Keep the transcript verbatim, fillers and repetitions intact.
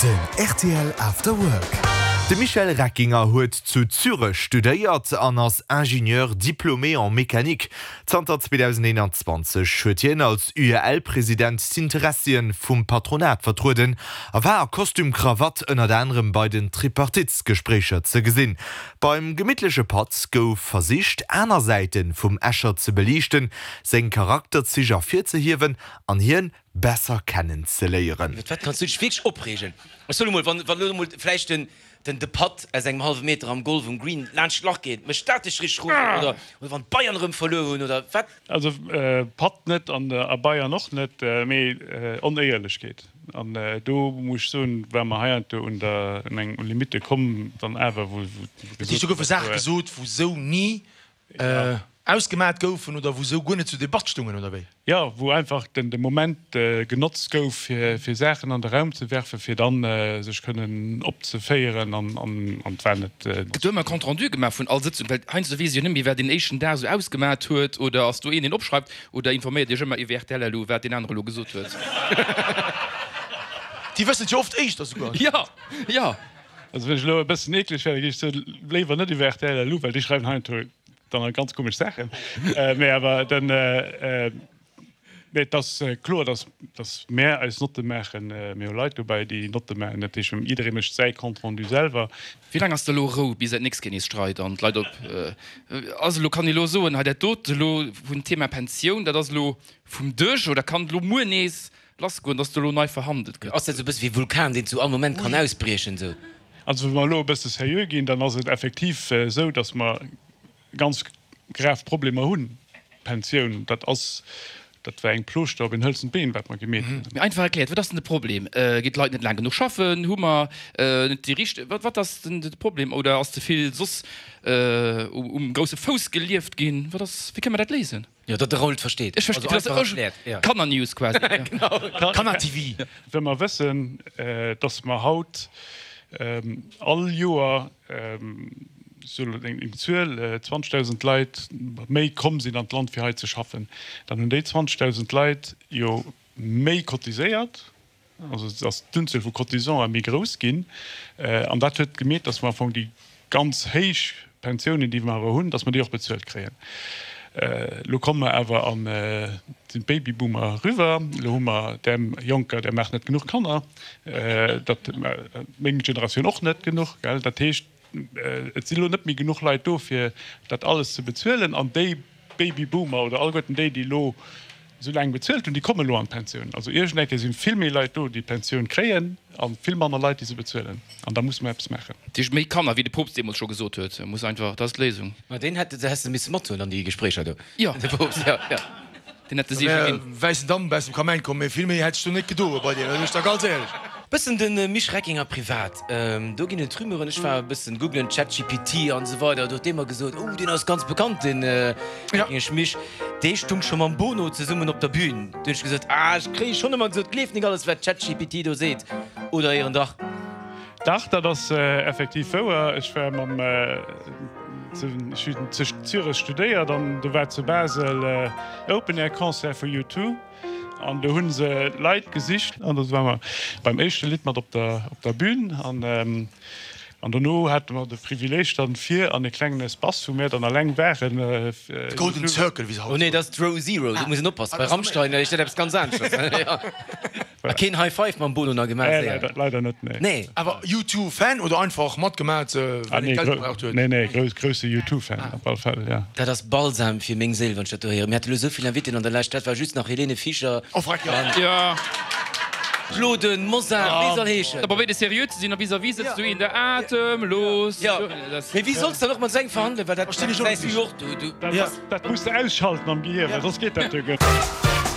Den rtl After Work. De Michel Reckinger huet zu Zürech studéiert an ass Ingénieur diplômé en mécanique. Zanter zweedausendeenanzwanzeg huet hien als U E L-President d'Interessien vum Patronat vertrueden a war a Kostüm Krawatt ënnert anerem bei den Tripartitsgespréicher ze gesinn. Beim gemittleche Patt gouf versicht, aner Säite vum Escher ze beliichten, seng Charakterzich ervirzehiewen an hien besser kennenzeléieren. Iwwer wat kanns du dech wierklech opreegen? Ech soen emol, wann elo emol vläicht den den de Putt aus engem hallwe Meter am Golf um Green laanscht d'Lach geet, mécht dat dech richteg rosen? Oder oder wann d'Bayern erëm verluer hunn oder wat? Also Putt net an a Bayern och net, mee Onéierlechkeet. An do muss ech soen, war mer heiansdo un der un eng Limite komm dann awer, wou wou Dat heescht, do goufe Saache gesot, wou sou ni ausgemat goufen oder wou sou guer net zur Debatt stungen, oder wéi? Jo, wou einfach den de Moment genotzt gouf, fir fir Saachen an de Raum ze werfen, fir dann sech kënnen opzeféieren an an an et war net. Gëtt do ëmmer e Compte rendu gemaach vun all Sëtzung? Well heiansdo weess ech jo net méi, wat deen éischten Dag esou ausgemat huet. Oder ass do een, deen opschreift? Oder informéiert Iech ëmmer iwwer R T L elo, wat deen anere elo gesot huet? Déi wëssen et jo oft éischter souguer. Jo, jo. Also wann ech elo e bëssen eekleg wär, da géif ech soen, léiwer net iwwer R T L L U, well déi schreiwen heiansdo dann nach ganz komesch Saachen. Mee awer den, mee et ass kloer, dass, dass mär eis Notte maachen. Mir hu Leit dobäi, déi Notte maachen. Dat heescht, jidderee mécht säi Compte rendu selwer. Wéi laang ass da elo Rou, bis et nächst Kéier nees streit an d'Leit op ass? Elo kann ee elo soen, hei dat dote elo vum Thema Pensioun, dat ass elo vum Dësch, oder kann et elo muer nees lassgoen, dass do elo nei verhandelt gëtt? Ass dat esou e bësse wéi e Vulkan, deen zu all Moment kann ausbriechen esou? Also wa mer elo e bësse seriö ginn, dann ass et effektiv esou, dass mer ganz grav Problemer hunn. Pensioun, dat ass, dat war eng Plooschter op een hëlzent Been, wat mer gemeet hunn. Mee einfach erkläert, wat ass denn de Problem? Ginn d'Leit net laang genuch schaffen? Hu mer net déi richteg, wat, wat ass denn de Problem? Oder ass ze vill soss um grousse Fouss gelieft ginn? Wat ass, wéi kënne mer dat léisen? Jo, datt de Raoul et versteet. Ech verstinn, Also einfach erkläert, jo. Kanner-News quasi. Genau. Kanner-T V. Wa mer wëssen, dass mer haut all Joer, sou eng Zuel, zwanzegdausend Leit méi komm sinn an d'Land fir hei ze schaffen, dann hunn déi zwanzegdausend Leit jo méi cotiséiert, also et ass d'Unzuel vu Cotisante méi grouss ginn an dat huet gemeet, dass mer am Fong déi ganz héich Pensiounen, déi mer awer hunn, dass mer déi och bezuelt kréien. Elo komme mer awer an, sinn d'Babyboomer eriwwer, elo hu mer där Jonker, där maachen net genuch Kanner, dat meng Generatioun och net genuch, gell. Dat heescht, et sinn elo net méi genuch Leit do, fir dat alles ze bezuelen an déi Babyboomer oder alleguerten déi, déi elo esou laang bezuelt hunn, déi kommen elo an d'Pensioun. Also iergendeng Kéier si vill méi Leit do, déi d'Pensioun kréien a vill manner Leit, déi se bezuelen. An da musse mer eppes maachen. Dat heescht méi Kanner, wéi de Poopst deemools scho gesot huet, muss einfach, dat ass d'Léisung. Ma deen hätt de häss de misse mathuelen an déi Gespréicher do. Jo. De Poopst, jo, jo. Deen hätt de Seege ginn. Wäissen Damp aus dem Kamäin komm, mee vill méi hätt ech do net gedoe bei dir, dat soen ech der ganz éierlech. Bëssen de Misch Reckinger privat, do ginn et Rumeuren, ech war e bëssen googlen, ChatGPT an esou weider, do huet dee mer gesot, oh deen ass ganz bekannt, dee Reckingesch Misch, dee stung scho mam Bono zesummen op der Bühn. Du hunn ech gesot, ah ech kréie schonn ëmmer gesot, gleef nik alles wat ChatGPT do seet, oder éieren dach? Dach, dat ass effektiv wouer. Ech war mam, ech hunn zu Zürech studéiert an do war zu Basel Open Air Concert vu U Two. An do hu se Leit gesicht an do ware mer beim éischte Lidd mat op der op der Bühn an an dono hate mer de Privileeg dann fir an e klengen Espace, wou mär dann alleng waren. De Golden Circle, wéi se haut Oh nee, soen. dat ass d'Row Zero, do muss een oppassen. Bei Rammstein heescht dat eppes ganz aneschters. A keen High Five mam Bono nach gemaach? Nee, leider, leider net, nee. Nee. Awer U Two Fan oder einfach matgemat, well een Geld gebraucht huet? Nee, nee, grouss, grousse U Two Fan op alle Fäll, ja. Dat ass Balsam fir meng Séil, wann ech dat do héieren. Mir hate lo esou vill Inviten an der Lescht, dat war just nach Helene Fischer. Oh freck, jo. Jo. Claude Mosar, wéi soll heeschen. Da probéiert e seriö ze sinn a vis-à-vis sëtzt du een der atemlos. Jo, mee wéi solls de dann och mat esou engem verhandelen, well dat gesäis du jo och, du, du. Dat muss de ausschalten am Gehir, well soss geet dat jo guer net.